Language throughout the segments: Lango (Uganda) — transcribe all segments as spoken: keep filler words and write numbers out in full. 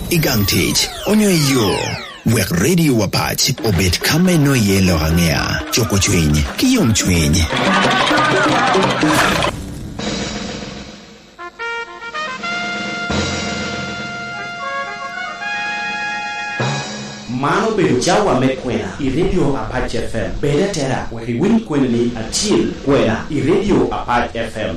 I gang tic, onyo i yo, wek Radio Apac obed ka me nwoyo iye lok aŋea, cuko cwiny, ki yomcwiny. Man obedo cawa me kwena i Radio Apac F M. Bed atera wek iwiny kweni ni acil kwena i Radio Apac F M.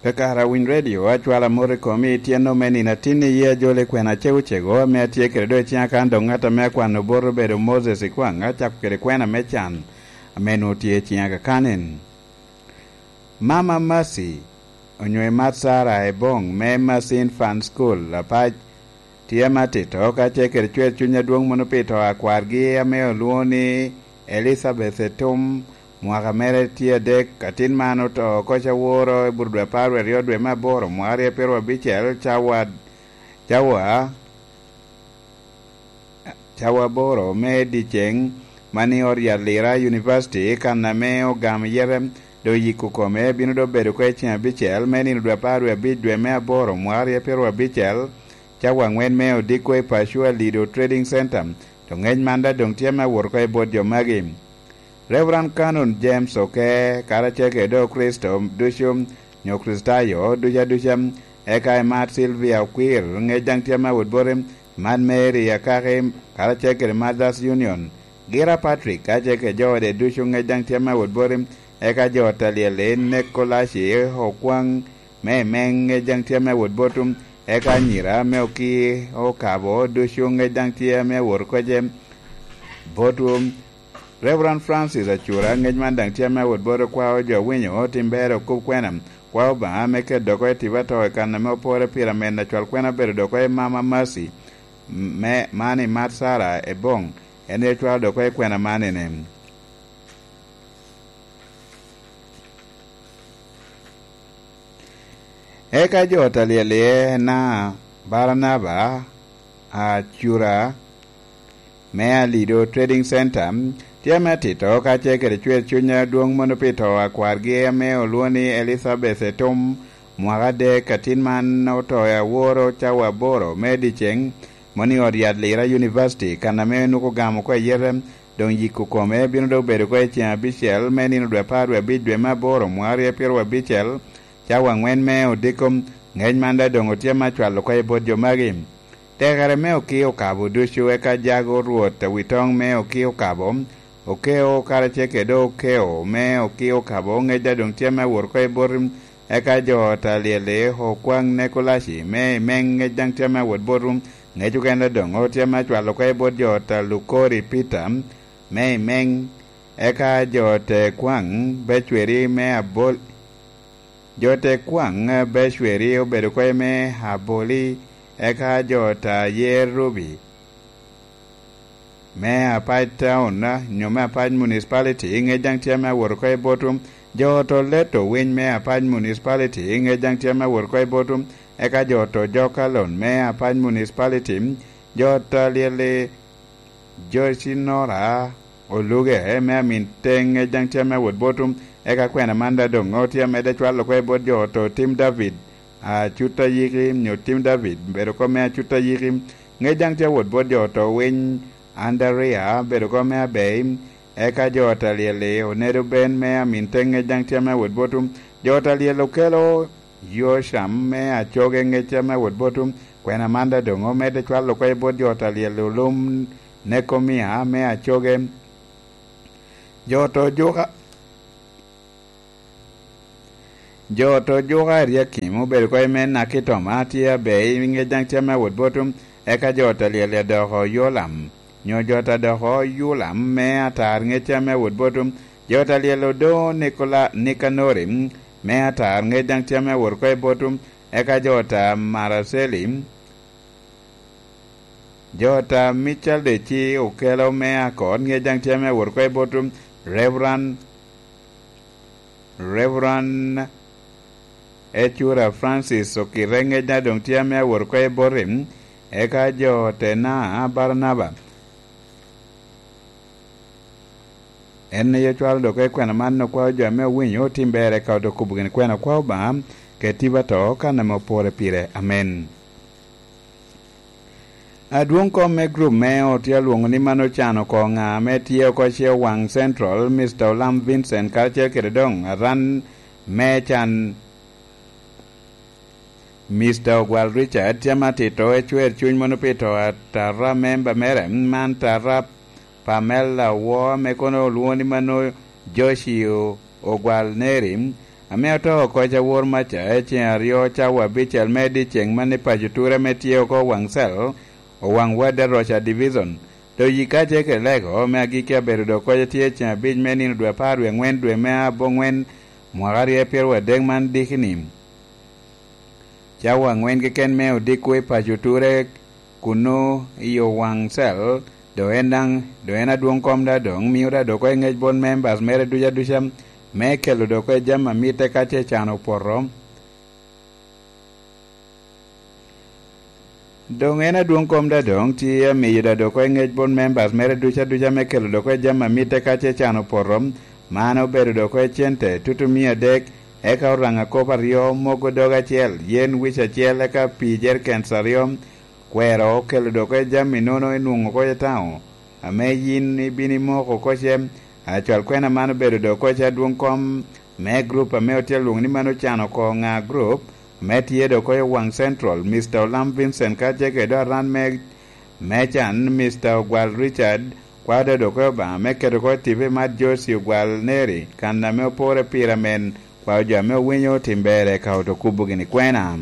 Kakare awiny redio, acwalo amot i komi i tyeno me nino atin i yee ajol i kwena acego cego ame atye kede doŋ i ciŋa kan doŋ ŋat ame akwano bot obedo Moses Ikwaŋ, acako kede kwena me can ame nwoŋo tye i ciŋa kakanen. Mama Mercy, onyo i mat Sarah Ebong me Mercy Infant School, Apac, tye ame atito, ka ce kede cwer cuny adwoŋ mono pi to a kwargi ame olwoŋo ni Elizabeth Etum, mwaka mere tye adek, atin man oto oko caworo i burudwe apar wie aryo dwe me aboro, mwaka aryo pyeraryo abicel, cawa, cawa, cawa aboro me dyeceŋ, man i ot yat Lira University, kan ame ogamo yete, doŋ yiko kome, bino doŋ bedo oko i ceŋ abicel, me nino dwe apar wie abic dwe me aboro, mwaka aryo pyeraryo abicel, cawa aŋwen me odiko i Pacua Lido Trading Center. To ŋec man daŋ doŋ tye me awot oko i bot jo magi. Reverend Canon James Oke, karacel kede Okricito ducu, nyo Kricitayo ducu aduca, eka i Mad Sylvia Okwir, ŋec daŋ tye me awot boti, Mad Mary Akaki, karacel kede Mothers Union, Gira Patrick, karacel kede jo ode ducu, ŋec daŋ tye me awot boti, eka jo ot alyel-li, Nekolaci Okwaŋ, me i Meŋ, ŋec daŋ tye me awot botwu, eka anyira me Oki Okabo ducu, ŋec daŋ tye me awot oko ce botwu. Reverend Francis Acura, ŋec man daŋ tye me awot bot okwao jo winyo tim ber okub kwena. Kwa Obaŋa me keto doko i tipo ato i kan ame opore pire, amen acwal kwena obedo doko i Mama Mercy, me, man i Mat Sarah Ebong, en aye cwalo doko i kwena man ene. Eka jo ot alyel-li na Baranaba, Acura, me Alido Trading Center, tye me atito, ka ce kede cwer cuny adwoŋ mono pi to a kwargi ame olwoŋo ni Elizabeth Etum, mwaka adek, atin man oto i aworo cawa aboro me dyeceŋ, mono i ot yat Lira University, kan ame onwoŋo ogamo oko ayete, doŋ yiko kome bino doŋ bedo oko i ceŋ abicel me nino dwe apar wie abic dwe me aboro, mwaka aryo pyeraryo abicel, cawa aŋwen me odiko. Ŋec man daŋ doŋ otye me acwalo oko i bot jo magi. Tekere me Oki Okabo ducu, eka jago Rwot a wi toŋ me Oki Okabo, Okeo karacel kede Okeo me Oki Okabo, ŋec daŋ doŋ tye me awot oko i bot, eka jo ot alyel-li, Okwaŋ Nekolaci me i Meŋ, ŋec daŋ tye me awot botwu, ŋec okene doŋ otye me acwalo oko i bot jo ot a Lukori Peter me i Meŋ, eka jo ot a Kwaŋ Becweri me Abol-, jo ot a Kwaŋ Becweri obedo oko i me Aboli, eka jo ot a Yer Rubi me Apac Town, nyo me Apac Municipality, ŋec daŋ tye me awot oko i botwu. Jo ot a Leto Winy me Apac Municipality, ŋec daŋ tye me awot oko i botwu. Eka jo ot a Jokalon me Apac Municipality, jo ot alyel-li, Joyce Nora Oluge me Amin Teŋ, ŋec daŋ tye me awot botwu. Eka kwena man daŋ doŋ otye amedde cwalo oko i bot jo ot a Tim David, Acut Ayiki, nyo Tim David, bedo oko me Acut Ayiki, ŋec daŋ tye awot bot jo ot a Winy, Andarea, bedo oko me Abei, eka jo ot alyel-li, Onedo Ben me Amin Teŋ, ŋec daŋ tye me awot botwu. Jo ot alyel okelo Yocam me Acoge, ŋec tye me awot botwu. Kwena man daŋ doŋ omedde cwalo oko i bot jo ot alyel, Olum Nekomia me Acoge. Jo ot a Ojuka, jo ot a Ojuka Eliakim obedo oko i me Nakitoma, tye Abei, ŋec daŋ tye me awot botwu. Eka jo ot alyel-li adoko Yolam, nyo jo ot a doko Yulam me Atar, ŋec tye me awot botwu. Jo ot alyel Odo Nikola-, Nikanori me Atar, ŋec daŋ tye me awot oko i botwu. Eka jo ot a Maraceli, jo ot a Mical Deci okelo me Akor, ŋec daŋ tye me awot oko i botwu. Reverend, Reverend Ecura Francis Okite, ŋec daŋ doŋ tye me awot oko i boti. Eka jo ot a Barnaba, en aye cwalo dok i kwena man, okwao jo ame owinyo otim ber, eka odoŋ kobo gin kwena, okwao Obaŋa Etiba to kan ame opore pire. Amen. Adwoŋ kom me grup me ot tye alwoŋo ni man ocan oko ŋa ame tye oko ce Owaŋ Central, Mister Olam Vincent, karacel kede doŋ aran me can, Mister Ogwal Richard, tye ame atito ecwer cuny mono pi to atara memba mere, man tara Pamela Woo, ame kono olwoŋo ni mano Joshi O-, Ogwal Neri, ame oto oko i Cawor Maca i ceŋ aryo cawa abicel me dyeceŋ man i paco Ture ame tye oko Waŋcel, Owaŋ Wad Aroca Division. Doŋ yika ce kede lego me agikki abedo doŋ koc atye i ceŋ abic me nino dwe apar wie aŋwen dwe me aboŋwen mwaka aryo pyeraryo adek man diki-ni. Cawa aŋwen keken me odiko i paco Ture kunnu i Owaŋ Cel, doŋ en daŋ, doŋ en adwoŋ kom da doŋ mio da doko i ŋec bot members mere ducu aduca, me kelo doko i jami a mitte ka ce can opoto. Doŋ en adwoŋ kom da doŋ tye amiyo da doko i ŋec bot members mere ducu aduca me kelo doko i jami a mitte ka ce can opoto. Man obedo doko i cente tutu mia adek, eka oraŋa kop aryo, mogo dog acel, yen wic acel, eka pii jerikens aryo. Kwero okelo doko i jami nono enwoŋo oko i taŋo, ame yin ibino imoko oko ce. Acwal kwena man obedo doko i adwoŋ kom me grup ame otye alwoŋo ni man ocan oko ŋa grup, ame tye doko i Owaŋ Central, Mister Olam Vincent, ka ce kede aran me, me can, Mister Ogwal Richard, kwao da doko i Obaŋa me keto oko i tipe mat Josi Ogwal Neri, kan ame opore pire amen, kwao jo ame owinyo tim ber eka oto kubo gini kwena.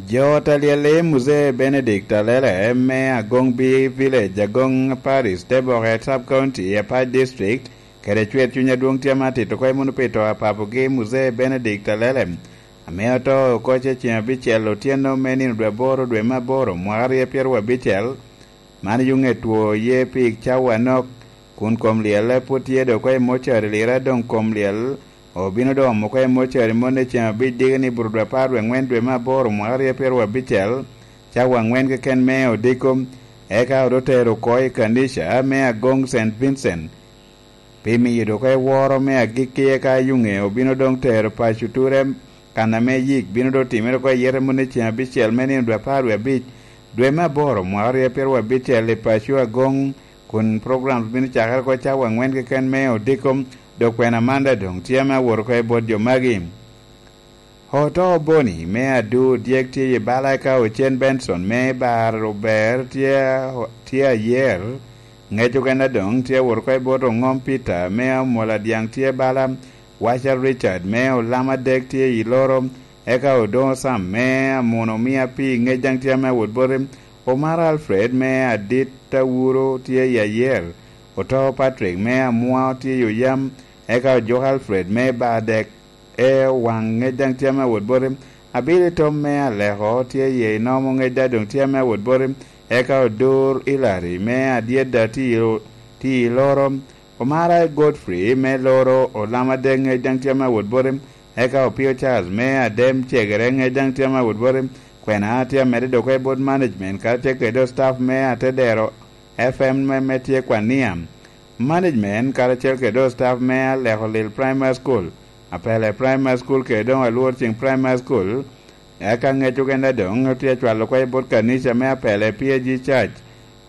Jo ta lyel i Muzee Benedict Alele me Agoŋ B Village, Agoŋ Parish, Teboke Sub County, Apac District, kede cwer cuny adwoŋ tye ame atito oko i muno pi to a papogi Muzee Benedict Alele, ame oto oko ce ceŋ abicel otyeno me nino dwe aboro dwe me aboro mwaka aryo pyeraryo abicel. Man yuŋe two ye pi cawa anok, kun kom lyelle pwod tye dok oko i mocari lira, doŋ kom lyel obino doŋ omo oko i mocari moni i ceŋ abic diki ni buto dwe apar wie aŋwen dwe me aboro mwaka aryo pyeraryo abicel, cawa aŋwen keken me odiko, eka odo tero oko i kanica me Agoŋ Saint Vincent. Pi miyo dok eworo me agikki, eka yuŋe obino doŋ tero paco Ture, kan ame yik bino doŋ timere oko i yete moni i ceŋ abicel me nino dwe apar wie abic, dwe me aboro mwaka aryo pyeraryo abicel i paco Agoŋ, kun program bino cakere oko cawa aŋwen keken me odiko, dok kwena man daŋ doŋ tye ame awot oko i bot jo magi. Oto Boni me Adu dyek tye i bala, eka Ocen Benson me Bar Ober tye, tye ayer. Ŋec okene doŋ tye awot oko i bot Oŋom Peter me Amola Dyaŋ tye bala, Waca Richard me Olam Adek tye i Loro, eka Odoŋo Sam me Amuno Mia Pii Ŋec daŋ tye ame awot boti, Omara Alfred me Adit Awuro tye i ayer, Oto Patrick me Amua tye i Oyam, eka Ojok Alfred me Bar Dek e Owaŋ Ŋec daŋ tye ame awot boti, Abili Tom me Aleko tye i Inomo Ŋec daŋ doŋ tye ame awot boti, eka Odur Ilari me Adyedda tye i, tye i Loro, Omara Godfrey me Loro, Olam Adek Ŋec daŋ tye ame awot boti, eka Opio Charles me Adem Cegere Ŋec daŋ tye ame awot boti, kwena tye amedde dok oko i bot management karacel kede staff me Atedero F M me, me tye Kwania. Management karacel kede staff me Aleko Lil Primary School, Apele Primary School kede doŋ Alwor Cing Primary School, eka ŋec okene doŋ otye acwalo oko i bot kanica me Apele P A G Church.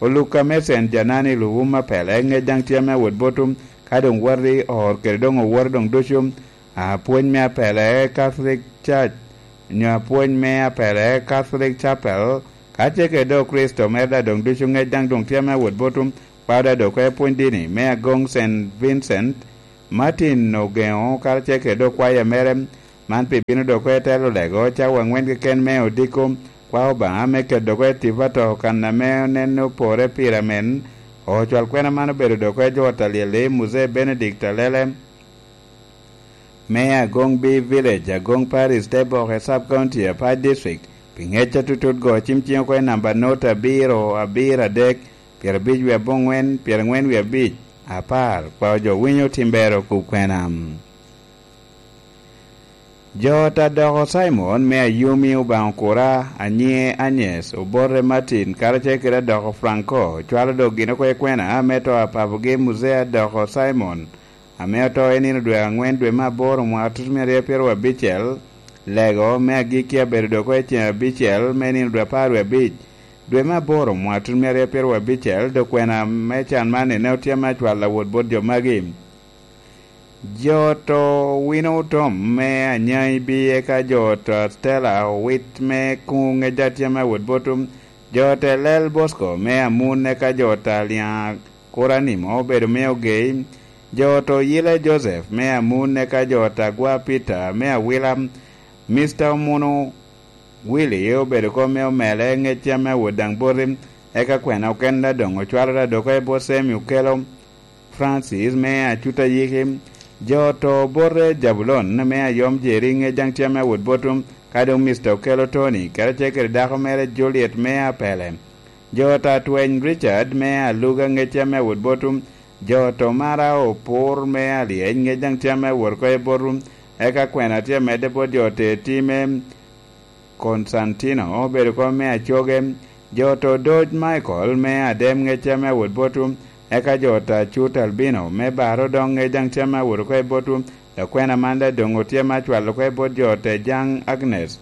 Olukka me Saint Janani Luwum Apele ŋec daŋ tye ame awot botum, ka doŋ wot i or kede doŋ owoto doŋ ducu. Apwony me Apele Catholic Church, nyo apwony me Apele Catholic Chapel, ka ce kede doŋ Kricito mere daŋ doŋ ducu ŋec daŋ doŋ tye ame awot botum, kwao daŋ doŋ oko i pwony dini me Agoŋ Saint Vincent. Martin Ogeŋo karacel kede doŋ kwaya mere, man pi bino dok oko i telo lego cawa aŋwen keken me odiko, kwao Obaŋa me keto dok oko i tipo ato kan ame oneno pore pire amen. Ocwal kwena man obedo dok oko i jo ta lyel i Muzee Benedict Alele me Agoŋ B Village, Agoŋ Parish, Teboke Sub County, Apac District, pi ŋec atutut go cim cing oko i namba not abiro abiro adek, pyerabic wie aboŋwen, pyeraŋwen wie abic, apar, kwao jo winyo tim ber okub kwena. Jo ta doko Cimon me Ayumi, Obaŋa okura, anyiŋe Anyes, obote Martin, karacel kede adoko Franco, cwalo dok gin oko i kwena me to a papogi Muzee adoko Cimon, ame oto i nino dwe aŋwen dwe me aboro mwaka tutumia aryo pyeraryo abicel. Lego me agikki abedo dok i ceng abicel me nino dwe apar wie abic dwe me aboro mwaka tutumia aryo pyeraryo abicel. Dok kwena me can man ene otye me acwal awot bot jo magi. Jo oto wino otom me anyaŋ ibi eka jo oto Stella owit me kuŋ ŋec atyem awot botum. Jo oto Elel Bosco me amun eka jo oto Aliaŋ Kuranimo obedo me ogei. Jo oto Yile Joseph me amun eka jo oto Agwa Peter me awila. Mister Omunu Willy obedo kom me omele ŋec atyem awot daŋ boti. Eka kwena oken da doŋ ocwalo da dok i bot Semi okelo Francis me acuta yiki. Jo oto bote Jabulon me ayom Jeri ŋec daŋ tye me wot botum, ka doŋ Mister Okelo Tony, karacel kede dako mere Juliet me apele. Jo oto atweny Richard me aluga ŋec tye me wot botum. Jo oto mara opur me alyeny ŋec daŋ tye me wot oko i botum. Eka kwena tye medde bot jo oto eti me Konstantino obedo kom me acoge. Jo oto Doc Michael me adem ŋec tye me wot botu, eka jo oto Acut Albino me baro doŋ ŋec daŋ tye me wot oko i botu. Dok kwena man daŋ doŋ otye me acwalo oko i bot jo oto Jaŋ Agnes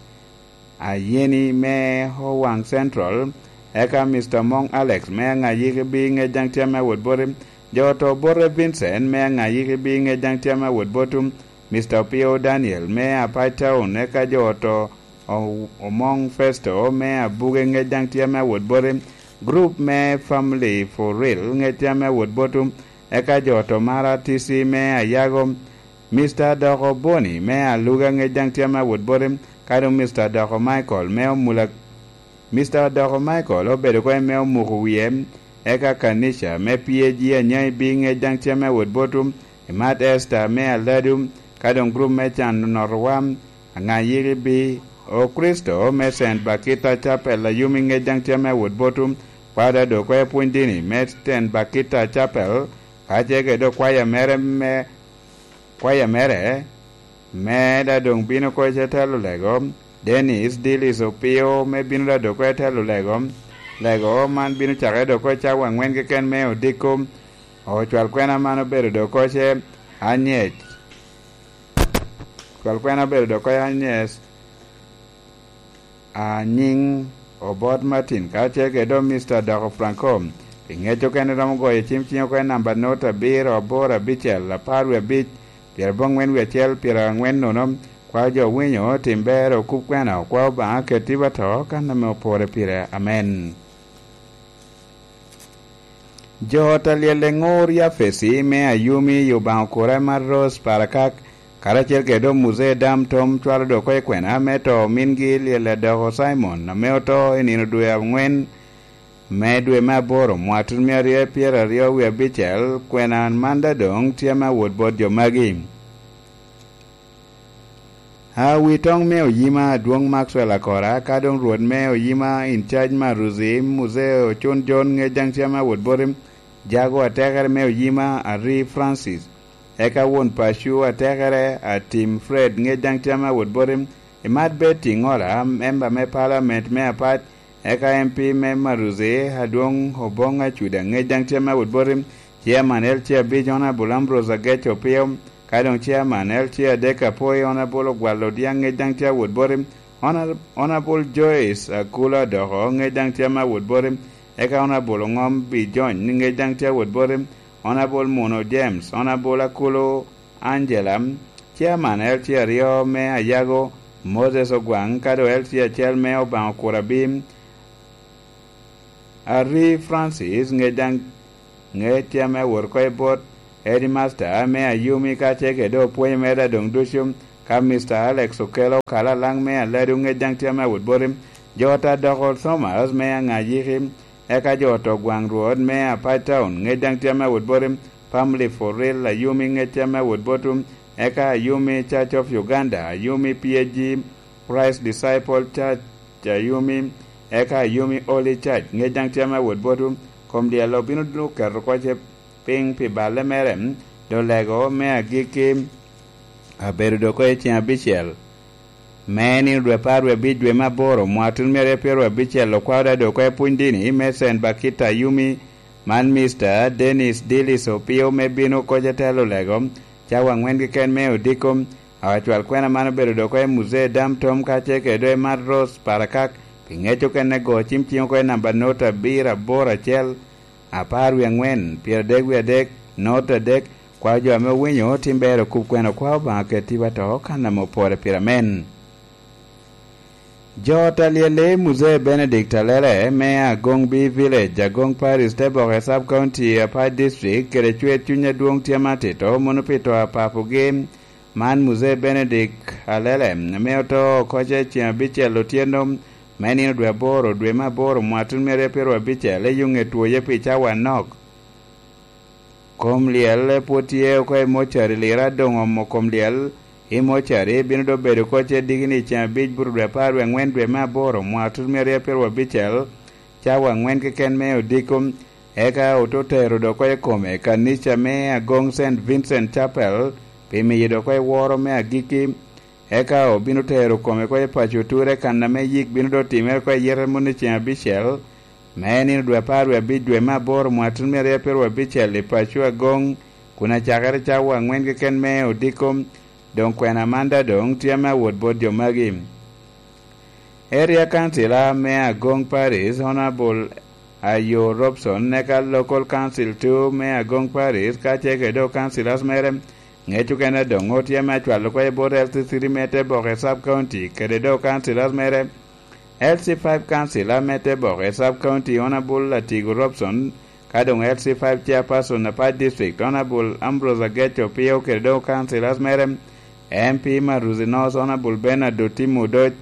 Ayeni me Owaŋ Central, eka Mister Moŋ Alex me Aŋayiki bi ŋec daŋ tye me wot boti. Jo oto Bote Vincent me Aŋayiki bi ŋec daŋ tye me wot botu. Mister Opio Daniel me Apac Town, eka jo oto O-, Omoŋ Festo me Abuge ŋec daŋ tye me wot boti. Group me Family for Real ŋec tye me wot botu, eka jo oto Mara T C me Ayago. Mister Doko Boni me Aluga ŋec daŋ tye me wot boti, ka doŋ Mister Doko Michael me Omula. Mister Doko Michael obedo oko me omuko wie, eka Kanisha me P A G anyaŋ ibi ŋec daŋ tye me wot botu, imat Esther me Aladu, ka doŋ group me can onotowa, Aŋayiki bi, O Kricito me Saint Bakita Chapel Ayumi ŋec daŋ tye me wot botu, kwada dok oko pwony dini me Saint Bakita Chapel, ka ce kede okwaya mere me, kwaya mere, me da doŋ bino oko i telo lego, Dennis Dillis Opio me bino da dok oko i telo lego. Lego man bino cakere dok oko i cawa aŋwen keken me odiko. Ocwal kwena man obedo dok oko ce anyec. Ocwal kwena obedo dok oko anyec. Anyiŋ Obot Martin, ka ce kede doŋ Mister Doko Franco. Pi ŋec okene romo goyo cim ciŋ oko i namba not abiro aboro abicel apar wie abic, pyerabongwen wie acel, pyeraŋwen nono. Kwao jo winyo, tim ber, okup kwena, okwao Obaŋa ket tipo ato, kan ame opore pire. Amen. Jo ot alyel eŋor Yafesi me Ayumi i Obaŋa okura mar Rose Parakak, karacel kede doŋ Muzee Dam Tom cwalo dok oko i kwena me to omingi lyel adoko Simon ame oto i nino dwe aŋwen me dwe me aboro mwaka tutumia aryo pyeraryo wie abicel. Kwena man da doŋ tye me awot bot jo magi. Awitoŋ me oyima adwoŋ Maxwell Akora, ka doŋ Rwot me oyima in charge Maruzi, Muzee Ocun John ŋec daŋ tye me awot boti, Jago atekere me oyima Ari Francis, eka won paco atekere Atim Fred ŋec daŋ tye me awot boti, imat Betty Ŋola, memba me palament me Apac, eka M P me Maruzi, adwoŋ Oboŋ Acuda ŋec daŋ tye me awot boti, Chairman L C abic Honorable Ambrose Agec Opio, ka doŋ Chairman L C adek Apoi Honorable Ogwal Odyaŋ ŋec daŋ tye awot boti, Honor-, Honorable Joyce Akula Doko ŋec daŋ tye me awot boti, eka Honorable Oŋom Bijony ŋec daŋ tye awot boti, Honorable Muno James, Honorable Akulu Angela, Chairman L C aryo me Ayago, Moses Ogwaŋ, ka doŋ L C acel me Obaŋa Okura Abim, Ari Francis ŋec daŋ ŋec tye ame wot oko i bot Headmaster me Ayumi ka ce kede opwonyo mere doŋ ducu, ka Mister Alex Okelo Kalalaŋ me Aladu ŋec daŋ tye ame wot boti, jo ot Adoko Thomas me Aŋayiki, eka jo ot Ogwaŋ Rwot me Apac Town ŋec daŋ tye ame wot boti, Family for Real Ayumi ŋec tye ame wot botu, eka Ayumi Church of Uganda, Ayumi P A G, Christ Disciple Church Ayumi, eka Ayumi Holy Church ŋec daŋ tye ame wot botu. Kom dyel obino dwogo keto oko ce piny pi balle mere, doŋ lego me agikki abedo dok oko i ceng abicel me nino dwe apar wie abic dwe me aboro mwaka tun myero pyeraryo abicel okwao da dok oko i pwony dini me Saint Bakita Ayumi, man Mister Dennis Dillis Opio me bino oko ce telo lego. cawa angwen keken me odiko. Acwal kwena man obedo dok oko i Muzee Dam Tom kacel kede dok i Mad Ros Parakak, pi ŋec okene go cim cing oko i namba not abiro aboro acel, apar wie angwen, pyeradek wie adek, not adek. Kwao jo ame owinyo tim ber okub kwena, kwao Obaŋa ket tipo ato kan ame opore pire amen. Jo ot alyel i Muzee Benedict Alele me Agong B Village, Agong Parish, Teboke Sub County, Apac District, kede cwer cuny adwoŋ tye ame atito mono pi to a papogi. Man Muzee Benedict Alele, ame oto oko ce ceŋ abicel otyeno me nino dwe aboro, dwe me aboro, mwaka tuno myero abicel, i yuŋe twoye pi cawa anok. Kom lyel pwod tye oko i mocari, lira doŋ omo kom lyel i mocari, bino doŋ bedo oko ce digini ceŋ abic buto dwe apar wie aŋwen dwe me aboro, mwaka tuno myero abicel, cawa angwen keken me odiko. Eka ote tero dok oko i kome kanica me Agong Saint Vincent Chapel, pi miyo dok oko i woro me agikki. Eka obino tero kome oko i paco oture, kan ame yik bino doŋ timere oko i yete moni ceŋ abicel, me nino dwe apar wie abic dwe me aboro, mwaka tuno myero abicel, i paco Agong, kun acakere cawa angwen keken me odiko. Doŋ kwena man daŋ doŋ tye ame awot bot jo magi. Area Councilor me Agong Parish, Honorable Ayo Robson, eka Local Council two me Agong Parish, kacel kede dok councilors mere, ŋec okene doŋ otye ame acwalo oko i bot L C three me Teboke Sub County, kede dok councilors mere, L C five councilor me Teboke Sub County, Honorable Latigo Robson, ka doŋ L C five chairperson Apac District, Honorable Ambrose Ageco Opio, kede dok councilors mere, M P Maruzi North, Honorable Bernard Otim Odoc,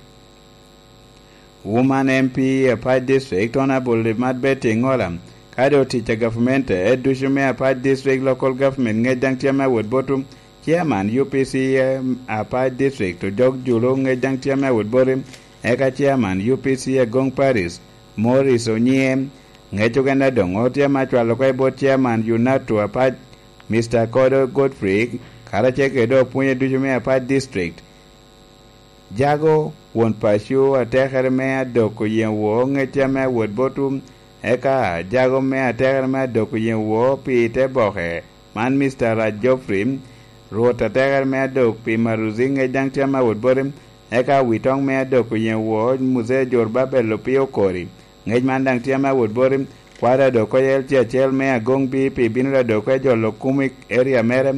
Woman M P Apac District, Honorable Limat Betty Ŋola, ka doŋ tic a gavumenti ducu me Apac District Local Government ŋec daŋ tye ame awot botwu, Chairman U P C Apac District Ojok Julu ŋec daŋ tye ame awot boti, eka Chairman U P C Agong Parish Morris Onyie, ŋec okene doŋ tye ame acwalo oko i bot Chairman UNATU Apac, Mister Kodo Godfrey, karacel kede dok opwonye ducu me Apac District. Jago won paco atekere me adok oyeŋ wo ŋec ame awot botwu, eka jago me atekere me adok oyeŋ wo pi Teboke, man Mister Raj Geoffrey, Rwot atekere me adok pi Maruzi ŋec daŋ tye ame awot boti, eka awitoŋ me adok oyeŋ wo Muzee Jor Babel Opio Okori, ŋec man daŋ tye ame awot boti, kwaro adok oko i L C acel me Agong B pi bino adok oko i jolo kum i area mere,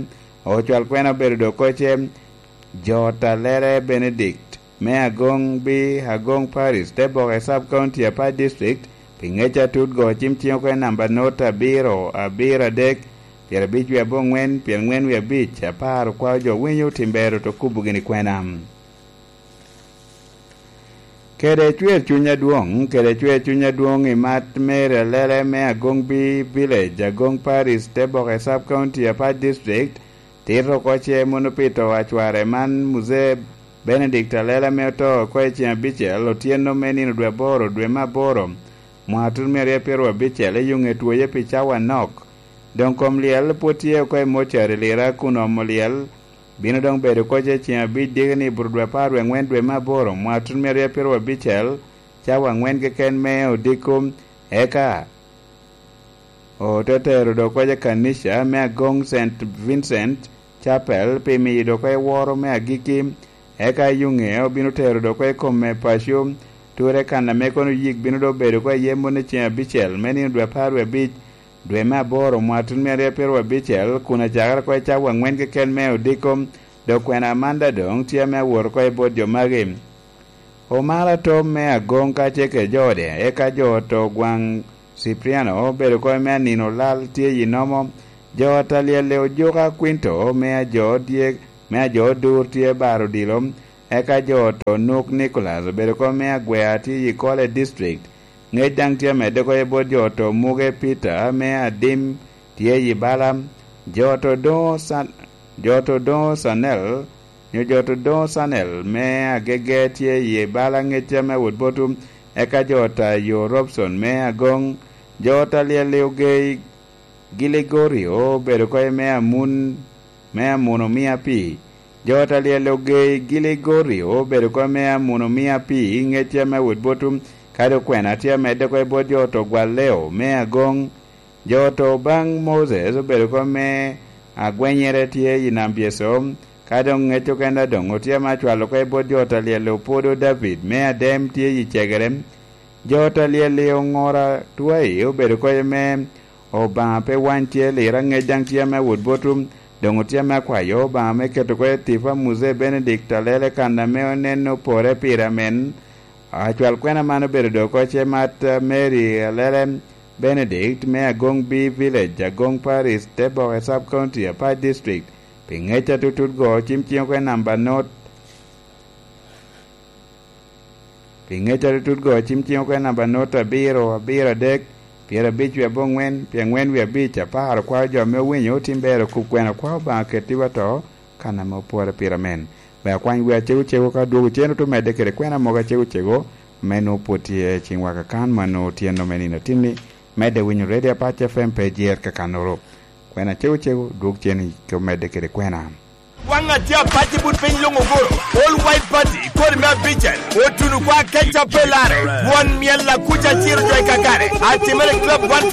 ocwal kwena obedo dok oko ce, Jo ot Alele Benedict me Agong B, Agong Parish, Teboke Sub County, Apac District, pi ŋec atut go cim cing oko i namba not abiro abiro adek, pyerabic wie aboŋwen, pyerangwen wie abic, apar okwao jo winyo tim ber oto kubo gini kwena. Kede cwer cuny adwoŋ, kede cwer cuny adwoŋ i mat Mary Alele me Agong B Village, Agong Parish, Teboke Sub County, Apac District, tito oko ce mono pi to a cware man, Muzee Benedict Alele ame oto oko i ceŋ abicel otyeno me nino dwe aboro, dwe me aboro, mwaka tuno myero abicel, i yuŋe twoye pi cawa anok. Doŋ kom lyel pwod tye oko i mocari Lira kun omo lyel, bino doŋ bedo oko ce ceŋ abic digini buto dwe apar wie aŋwen dwe me aboro, mwaka tuno myero abicel, cawa angwen keken me odiko, eka ote tero dok oko i kanica me Agong Saint Vincent Chapel pi miyo dok oko i woro me agikki, eka i yuŋe obino tero dok oko i kome paco, ture kan ame kono yik bino dok bedo oko iye moni ceŋ abicel me nino dwe apar wie abic, dwe me aboro, mwaka tuno myero abicel, kun acakere oko i cawa angwen keken me odiko, dok kwena man daŋ doŋ tye ame awot oko i bot jo magi. Omara Tom me Agong kacel kede jo ode, eka jo ot Ogwaŋ Cipriano obedo oko me anino lal tye i nomo, jo ot Alyelle Ojuka Quinto me ajo tye, me ajo Odur tye baro odilo, eka jo ot Onuk Nicholas obedo oko me Agwea tye i Kole District, ŋec daŋ tye amedde oko i bot jo ot Omuge Peter me Adim tye i bala, jo ot Odoŋo San-, jo ot Odoŋo Sanel, nyo jo ot Odoŋo Sanel me Agege tye i bala ŋec ame awot botwu, eka jo ot Ayo Robson me Agong, jo ot Alyelle Ogei Giligorio obedo oko me Amun, me Amun Omia Pii. Jo ot Alyelle Ogei Giligorio obedo oko me Amun Omia Pii ŋec ame awot botwu, kadi okwena tye amedde oko i bot jo ot Ogwal Leo me Agong. Jo ot Obaŋ Moses obedo oko me agwenyere tye i Nam Byeso, ka doŋ ŋec okene doŋ otye ame acwalo oko i bot jo ta lyel Opodo David me Adem tye i Cegere. Jo ta lyel-li oŋora twae obedo koc ame Obaŋa pe wany tye lira ŋec daŋ tye ame awot botwu, doŋ otye ame akwayo Obaŋa me keto oko i tipa Muzee Benedict Alele kan ame onen opore pire amen. Acwal kwena man obedo doŋ oko ce mat Mary Alele Benedict me Agoŋ B Village, Agoŋ Parish, Teboke Sub County, Apac District, pi ŋec atutut go cim ciŋ oko i namba not, pi ŋec atutut go cim ciŋ oko i namba not abiro, abiro adek, pyerabic wie aboŋwen, pyerangwen wie abic, apar okwayo jo ame owinyo, otim ber okub kwena okwayo Obaŋa keti wa to, kan ame opwore pire amen. Ber akwany wi acego cego ka dwogo cen oto medde kede kwena mogo acego cego, me nwoŋo pwod tye ciŋ waka kan ma nwoŋo tyen nome nino atinni, medde winyo Radio Apac F M pe jer kakannoro. Kwena acego cego, dwog cen i medde kede kwena. Waŋ atye apac i but piny luŋ ogoro, All White Party, kodi me abicel, otuno kwa keca pe lare, won myel akuca ciro jo i kakare, atimere club one